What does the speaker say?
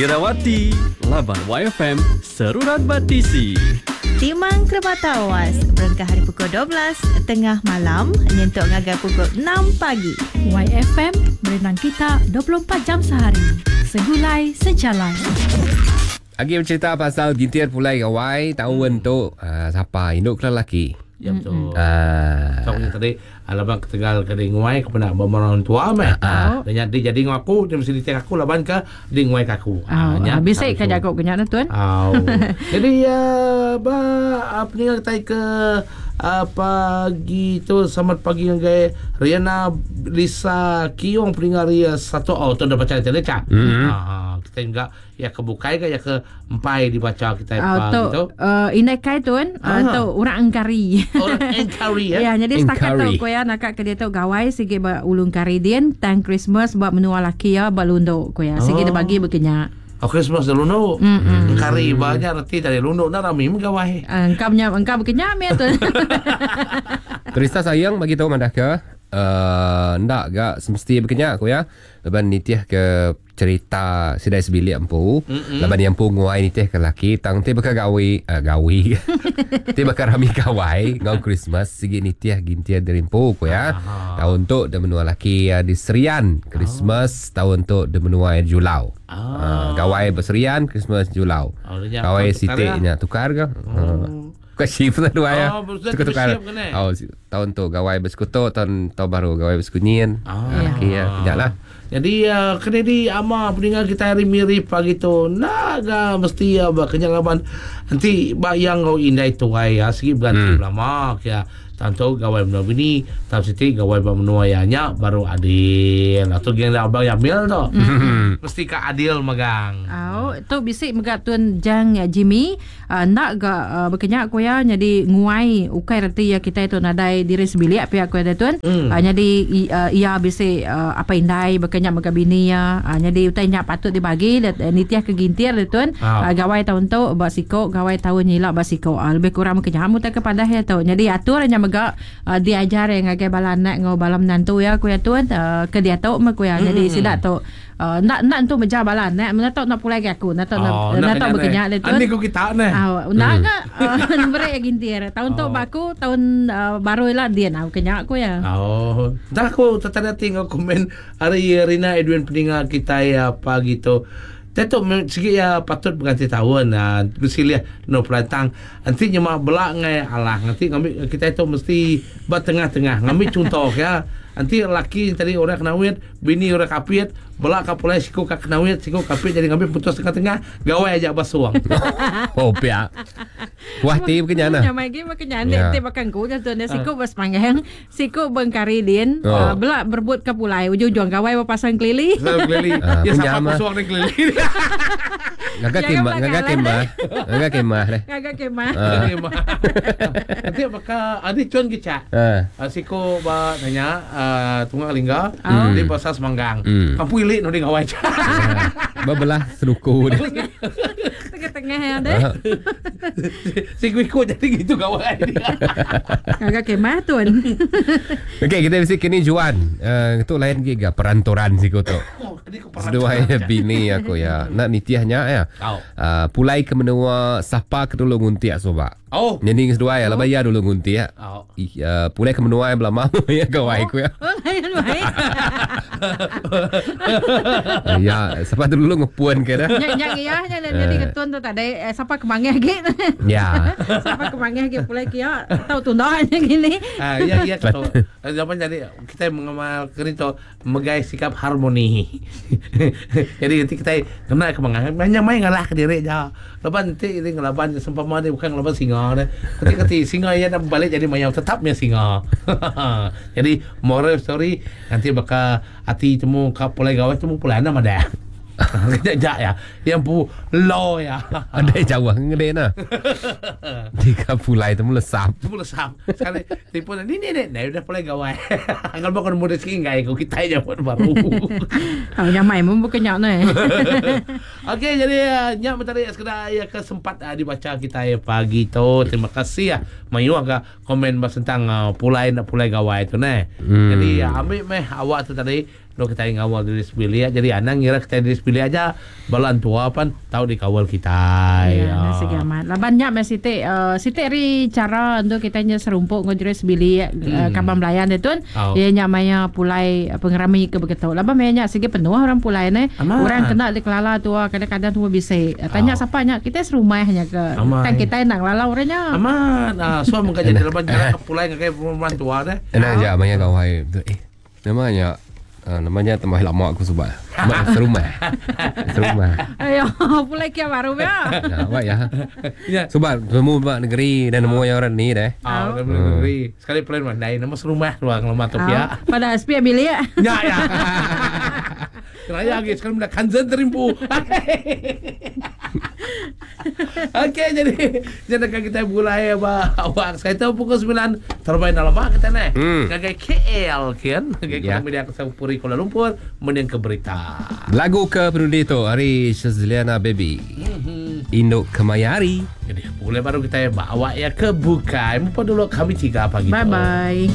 Irawati, laban YFM seruran ba tisi. Timang Kerebatawas berengkah ari pukul 12 tengah malam nyentuk ngagai pukul enam pagi. YFM berenang kita 24 jam sehari. Segulai sejalai. Agi bercerita pasal gintir pulai gawai taun tu uh, sapa indu ke lelaki? Ya betul. Ah. So tadi laban ketegal ke di nguai ke peda ba orang tua meh. Ah. Nya di jadi ngau aku dia mesti diteng aku laban ke di nguai ke aku. Ah, nya bisi ke jaku ke nya ne tuan? Au. Jadi uh, ba uh, peninga kitai ke uh, pagi tu selamat pagi ngagai Riana Lisa Kiong peninga ari satu oh tu dah baca tadi cak. Mm-hmm. Ah, kita juga ya ke bukai ke ya ke empai dibaca kitai Ah, pagi tu tu. indai kai tuan, tu orang Engkari. Orang Engkari ya. Ya, jadi setakat tu Engkari. ku ya naka ke dia tu gawai sigi ba ulung kari din tang Christmas ba menua laki ya ba lundo ku ya. Sigi Oh. dia bagi bekenya. Oh, Christmas dah lundo. Engkari banyak reti dari lundo dah rami megawai. Engkau punya engkau bekenya me tu. Terista sayang bagi tahu madah ke ndak ga semesti berkenyak aku ya. Laban nitih ke cerita sidai sebilik empu. Laban yang empu nguai nitih ke laki tang ti bakal gawi gawi. ti bakal rami gawai ngau Christmas sigi nitih gintir dari empu ku ya. Tahun tu dia menua laki uh, di Serian Christmas tahun tu dia menua di Julau. Ah. Gawai berserian Christmas Julau. Oh, dia Gawai tukar sitiknya tukar ke? Oh. Bukan shift lah dua ya. Oh, betul, Tukar-tukar. shift ke ni? Oh, tahun tu gawai bersekutu, tahun tahun baru gawai bersekunyin. Ah. Laki ya, kejap lah. Jadi uh, kena di ama pendengar kita hari mirip pagi tu naga mesti uh, kenyang laban nanti bayang kau indai tuai ya segi berganti lama ya tentu gawai menua bini tam siti gawai ba menua ya nya baru adil atau geng abang Yamil tu mesti ka adil magang Au, tu bisi mega tuan Jang Jimmy nak ga bekenya ku ya jadi nguai ukai reti ya kita tu nadai diri sebilik pihak ku ya tuan. Jadi ia bisi apa indai bekenya mega bini ya. Jadi utai nya patut dibagi nitiah ke gintir dia tuan. Gawai tahun tu ba siko, gawai tahun nyila ba siko. Lebih kurang bekenya mu tak kepada ya tu. Jadi atur nya mega diajar yang ngagai bala anak ngau bala menantu ya ku ya tuan ke dia tu mah ku ya. Jadi sidak tu nak nak tu meja bala anak mana tahu nak pulai ke aku nak tahu Oh, nak tahu bekenya dia tuan. Ani ku kita ne. Ah, nak ke beri gintir. Tahun tu baku tahun baru lah dia nak kenya aku ya. Oh, dah aku tertanya tinggal komen hari Rina Edwin pendengar kita ya pagi tu. Tetuk segi ya patut berganti tahun ah bersilih no pelantang. Nanti nyema belak ngai alah nanti ngambil kita itu mesti bertengah-tengah ngambil contoh ya. Nanti laki tadi orang kenawit, bini orang kapit, belak kapulai siku ka kenawit, siku kapit jadi ngambil putus tengah-tengah, gawai aja basuang. Oh, pia. Kuah ti berkenyak nah. Nyamai gi makan Ya. nanti makan ku je tu siku bersemanggang, siku bengkari din, Oh. belak berebut ke pulai ujung-ujung gawai berpasang kelili. Saya kelili. Ah, Ya punya siapa ama. basuang ni kelili. Ngaga Jangan kemah, ngaga belakang lah, kemah. Ngaga kemah deh. Ngagak kemah. Ah. Nanti bakal ada cuan kicak. Ah. Siko ba nanya tunggal lingga di pasar Semanggang. Kampung ilik no di ngawai. Berbelah seluku dia. Tengah-tengah ya deh. Ah. Siko ikut jadi gitu gawai dia. Ngagak kemah tuan. Okey, kita mesti kini Juan. Itu lain giga perantoran siku tu. Oh, kini ku peran- Seduai bini aku ya. Nak nitiahnya ya. Tau. Pulai ke menua sapa ke dulu nguntiak soba. Oh. Jadi seduai lah bayar dulu nguntiak. Oh. Pulai ke menua yang belama ya gawai aku ya. Oh, lain baik. Ya, siapa dulu ngepuan ke dah. Nyak nyak ya, nya jadi ketun tu tak ada siapa kemangeh gi. Ya. Siapa kemangeh gi pulai kia tahu tunda nya gini. Ah, ya ya ketu. Zaman jadi kita mengamal kini tu megai sikap harmoni. jadi nanti kita kena kemangan banyak main ngalah ke diri je. Lepas nanti ini ngelaban sempama ni bukan ngelaban singa ni. Nanti kati singa yang nak balik jadi mayau tetapnya singa. jadi moral story nanti bakal hati temu kap pulai gawai temu pulai nama dah. Kejap ya. Yang pu lo ya. Ada jauh ngede nah. Tiga pulai temu lesap. Temu lesap. Sekali telefon ni ni ni ni udah pulai gawai. Kalau bukan muda sikit ngai kau kita je pun baru. Oh, nyamai mun bukan nyak ni. Okey, jadi nyak mentari sekedar ya kesempat dibaca kita ya pagi tu. Terima kasih ya. Mayu agak komen bahas tentang pulai nak pulai gawai tu ne. Jadi ambil meh awak tu tadi. Lalu kitai ngawal diri sebilik jadi anang ngira kitai diri sebilik aja bala entua pan tau dikawal kitai. Ya, nah, sigi amat. Laban nya meh siti uh, siti ari cara untuk kitai nya serumpuk enggau diri sebilik hmm. uh, kaban belayan dia tun. Oh. Iya nya maya pulai pengerami ke begitu. Laban maya nya sigi penuh orang pulai ne. Orang kena dikelala tua kadang-kadang tua bisi. Tanya oh. sapa nya kitai serumah nya ke. Tang kitai nak ngelala orang nya. Amat. Uh, so mengka jadi laban cara pulai ngagai rumah tua deh. Enak aja maya gawai. Eh, Nama nya nama nya temah lama aku suba. Mak serumah. Serumah. Ayo, pulai kia baru ya. Ya, awak ya. ya. Suba nemu ba negeri dan nemu yang orang ni deh. Ah, nemu negeri. Sekali pulai rumah dai nama serumah ruang lama tu ya. Pada SP bilik. Ya ya. Raya lagi sekali mula kanzen terimpu. Okey jadi jadi kan kita mulai ba awak saya tahu pukul 9 terbaik dalam mak kita ni. Hmm. Ngagai KL kan. Ngagai yeah. media kesau Puri Kuala Lumpur mending ke berita. Lagu ke penudi tu hari Shazliana Baby. Mm-hmm. Induk Kemayari. Jadi boleh baru kita bawa ya ke bukai. Mupa dulu kami tiga pagi Bye bye.